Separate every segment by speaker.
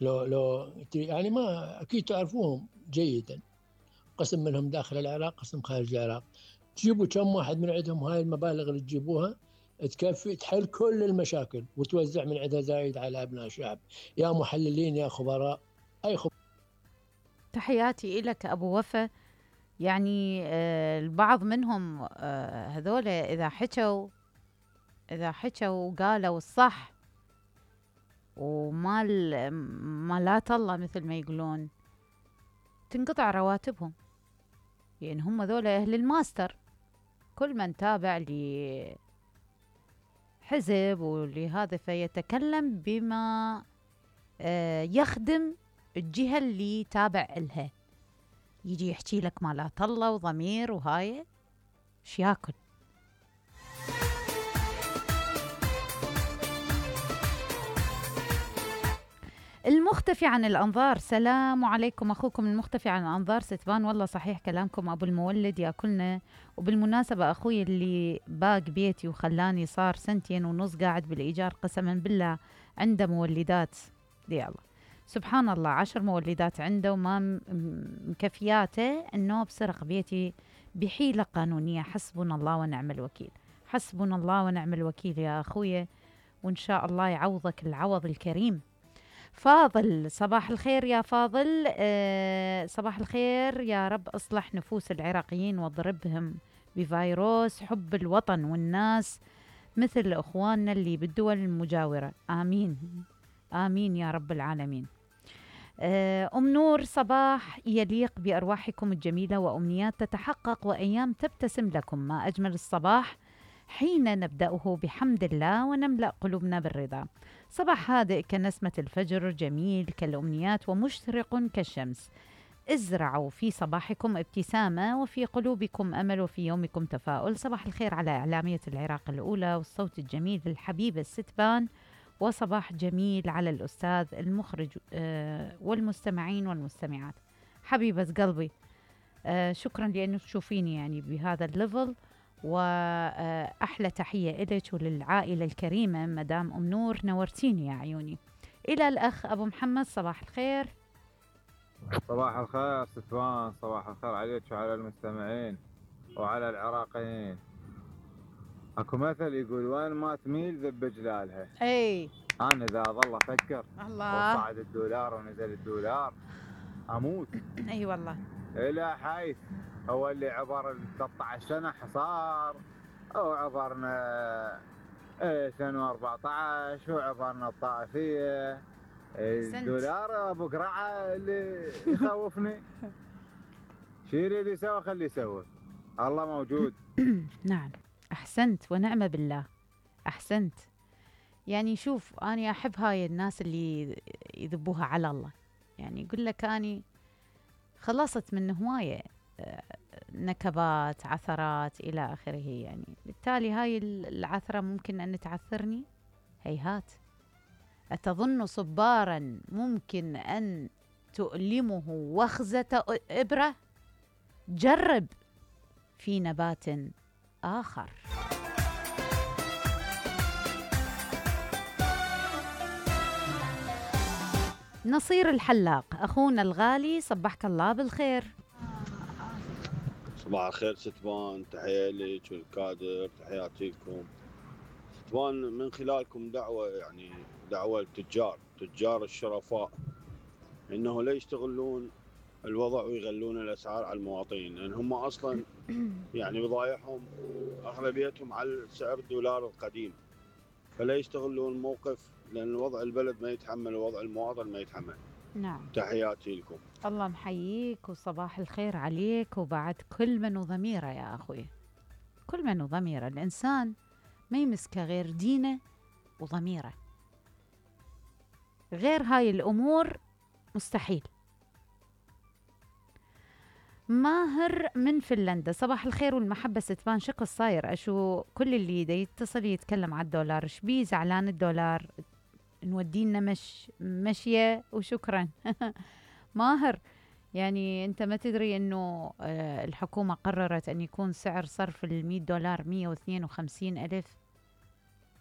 Speaker 1: لو يعني ما أكيد تعرفوهم جيدا، قسم منهم داخل العراق، قسم خارج العراق. تجيبوا كم واحد من عندهم، هاي المبالغ اللي تجيبوها تكفي تحل كل المشاكل وتوزع من عندها زايد على أبناء الشعب. يا محللين يا خبراء، أي خبراء.
Speaker 2: تحياتي إلك أبو وفا. يعني البعض منهم هذول إذا حكوا وقالوا الصح ما لا طلع مثل ما يقولون، تنقطع رواتبهم. يعني هم ذول أهل الماستر. كل من تابع لحزب ولهذا فيتكلم بما يخدم الجهة اللي تابع لها. يجي يحكي لك ما لا طلع وضمير وهاي ايش ياكل. المختفي عن الأنظار، سلام عليكم. أخوكم المختفي عن الأنظار ستبان. والله صحيح كلامكم أبو المولد ياكلنا. وبالمناسبة أخوي اللي باق بيتي وخلاني صار 2.5 سنين قاعد بالإيجار، قسما بالله عنده مولدات دي الله سبحان الله 10 مولدات عنده وما مكفياته إنه بسرق بيتي بحيلة قانونية. حسبنا الله ونعم الوكيل، حسبنا الله ونعم الوكيل يا أخوي، وإن شاء الله يعوضك العوض الكريم. فاضل، صباح الخير يا فاضل. صباح الخير، يا رب اصلح نفوس العراقيين واضربهم بفيروس حب الوطن والناس مثل اخواننا اللي بالدول المجاورة. آمين آمين يا رب العالمين. أم نور، صباح يليق بأرواحكم الجميلة وأمنيات تتحقق وأيام تبتسم لكم. ما أجمل الصباح حين نبدأه بحمد الله ونملأ قلوبنا بالرضا. صباح هادئ كنسمة الفجر، جميل كالأمنيات ومشرق كالشمس. ازرعوا في صباحكم ابتسامة وفي قلوبكم أمل وفي يومكم تفاؤل. صباح الخير على إعلامية العراق الأولى والصوت الجميل الحبيبة الستبان، وصباح جميل على الأستاذ المخرج والمستمعين والمستمعات. حبيبة قلبي، شكرا لأنه تشوفيني يعني بهذا الليفل، وأحلى تحية إليك وللعائلة الكريمة مدام أم نور، نورتيني يا عيوني. إلى الأخ أبو محمد، صباح الخير.
Speaker 3: صباح الخير ستوان، صباح الخير عليك وعلى المستمعين وعلى العراقيين. اكو مثل يقول وين ما تميل ذب جلالها.
Speaker 2: اي
Speaker 3: انا اذا اظل افكر
Speaker 2: الله
Speaker 3: وصعد الدولار ونزل الدولار اموت.
Speaker 2: اي والله.
Speaker 3: الى حيث هو اللي عبر 13 سنه حصار، او عبرنا سنه 14 وعبرنا الطائفيه. الدولار ابو قرعه اللي يخوفني. شو يريد يسوي خليه يسوي، الله موجود.
Speaker 2: نعم، أحسنت ونعم بالله، أحسنت. يعني شوف، أنا أحب هاي الناس اللي يذبوها على الله. يعني يقول لك أني خلصت من هواية نكبات، عثرات إلى آخره. يعني بالتالي هاي العثرة ممكن أن تعثرني؟ هيهات. أتظن صبارا ممكن أن تؤلمه وخزة إبرة؟ جرب في نبات آخر. نصير الحلاق أخونا الغالي، صبحك الله بالخير.
Speaker 4: صباح الخير ستبان، تحية لك والكادر، تحياتي لكم ستبان. من خلالكم دعوة، يعني دعوة التجار الشرفاء إنه لا يستغلون الوضع ويغلون الأسعار على المواطنين، لأن هم أصلا يعني بضايعهم أغلبيتهم على سعر الدولار القديم، فلا يستغلون الموقف، لأن وضع البلد ما يتحمل ووضع المواطن ما يتحمل.
Speaker 2: نعم،
Speaker 4: تحياتي لكم.
Speaker 2: الله محييك وصباح الخير عليك، وبعد كل من وضميره يا أخوي، كل من وضميره. الإنسان ما يمسك غير دينه وضميره، غير هاي الأمور مستحيل. ماهر من فنلندا، صباح الخير والمحبة ستبان. شق الصاير أشو كل اللي يتصل يتكلم على الدولار، شبيه زعلان الدولار؟ نودينا مشية وشكرا. ماهر، يعني أنت ما تدري أنه الحكومة قررت أن يكون سعر صرف $100 152,000،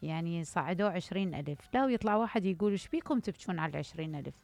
Speaker 2: يعني صعدوا 20,000. لا، ويطلع واحد يقول إيش بيكم تبكون على 20,000؟